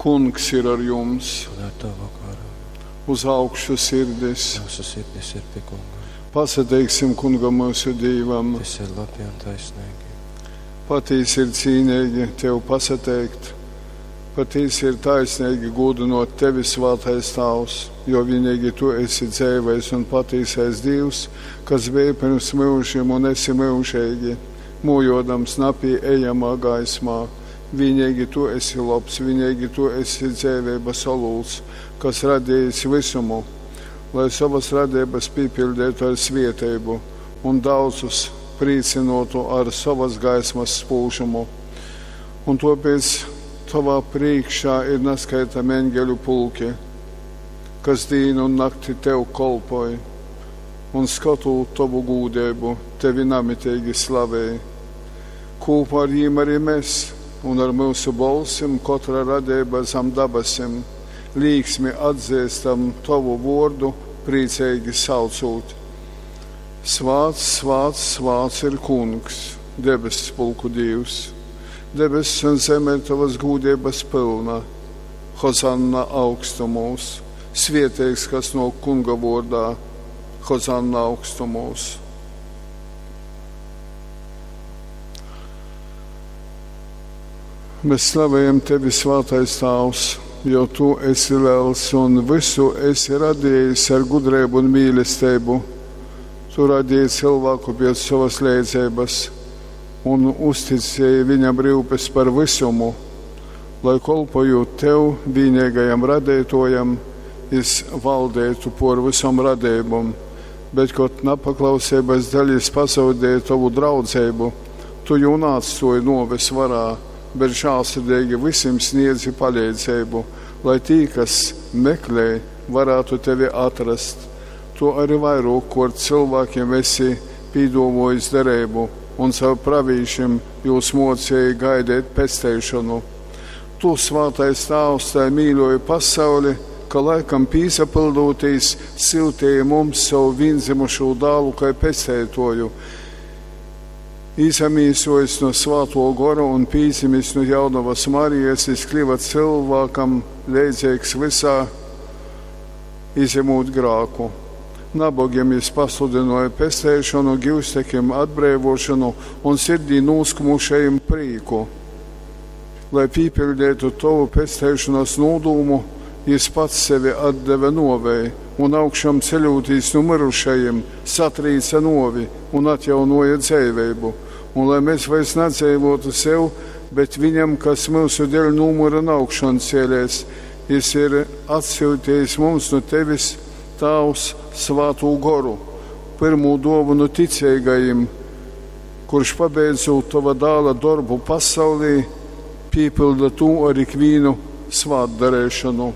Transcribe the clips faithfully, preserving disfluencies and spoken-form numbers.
Kungs ir ar jums! Un ar tavu garu. Uz augšu sirdis! Mūsu sirdis ir pie Kunga. Pasateiksim Kungam mūsu Dīvam! Tas ir labi un taisnīgi. Patīsi ir cīnīgi tev pasateikt, patīsi ir taisnīgi gūdinot tevi, Svētais Tāvs, jo vienīgi tu esi dzeivais un patīsais Dievs, kas bija pirms mūžiem un esi mūžīgi, mūjodams napieejamā gaismā. Vienīgi tu esi labs, vienīgi tu esi dzēvības olūts, kas radījis visumu, lai savas radības piepildītu ar svieteibu un daudzus priecinotu ar savas gaismas spūžumu. Un tāpēc tavā priekšā ir neskaitami eņģeļu pulki, kas dienu un nakti tev kolpoja, un skatot tavu gūdību, tevi namitīgi slavēja. Kopā ar jiem arī mēs, un ar mūsu bolsim katra radība zem dabasim, līksmi atzīstam tavu vārdu, priecīgi saucot. Svāts, svāts, svāts ir kungs, debesu pulku Dievs. Debesis un zeme ir tavas gūdības pilna. Hozanna augstumos, svieteigs, kas no kunga vārdā, Hozanna augstumos. Mēs slavējam tevi, Svētais Tāvs, jo tu esi liels un visu esi radījis ar gudrību un mīlestību. Tu radīji cilvēku pēc savas leidzības un uzticēji viņam rūpes par visumu, lai kolpojot tev, vienīgajam radītojam, jis valdētu por visam radībam, bet, kad nepaklausības dēļ jis pazaudēja tavu draudzību, tu jū neatstāji noves varā, bet žēlsirdīgi visiem sniedzi palīdzību, lai tī, kas meklē, varētu tevi atrast. Tu arī vairāk, kur cilvēkiem esi pīdomojis derību, un caur pravīšiem jūs mocēji gaidīt pesteišanu. Tu, Svētais Tāvs, tai mīļoji pasauli, ka laikam pīsapildūtīs siltīja mums savu vienzimušo dālu kā pestētoju. Izamīsojis no Svēto gora un pīzimis no jaunavas Marijas, jis kļuva cilvēkam leidzīgs visā, izņemot grāku. Nabogiem jis pasludināja pesteišanu, givstekiem atbrīvošanu un sirdī noskumušajiem prīku. Lai pīpildītu tavu pesteišanas nodūmu, jis pats sevi atdeva novei un augšām ceļotīs no mirušajiem, satrīca novi un atjaunoja dzīvību. Un lai mēs vairs nedzīvotu sev, bet viņam, kas mūsu dēļ numura un augšām cēlies, jis ir atsūtījis mums no tevis, Tāvs, Svēto goru, pirmo dāvanu ticīgajiem, kurš pabeidzot tava dāla darbu pasaulī, piepilda to ar ikvienu svētdarīšanu.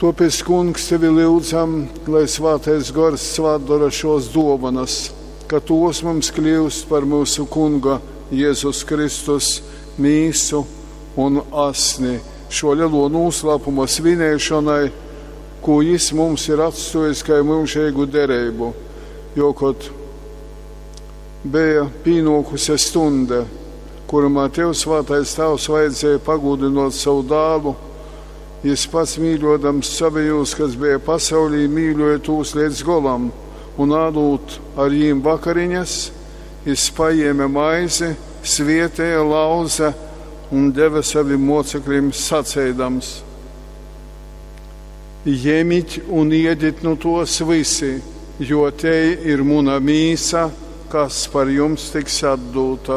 Tāpēc, Kungs, tevi lūdzam, lai Svētais Gors svētdara šos dāvanas, ka tos mums kļūst par mūsu Kunga Jēzus Kristus mīsu un asni šo lielo noslēpumu svinēšanai, ko jis mums ir atstājis kā mūžīgu derību, jo, kad bija pienākusi stunda, kurumā tev, Svētais Tēvs, vajadzēja pagūdinot savu dālu, jis pats mīļodams savējos, kas bija pasaulī, mīļoja tūs līdz golam, un ādūt ar jīm vakariņas, jis paņēma maizi, svietēja, lauza un deva saviem mocekļiem sacēdams: Ņemiet un iediet no tos visi, jo te ir muna mīsa, kas par jums tiks atdota.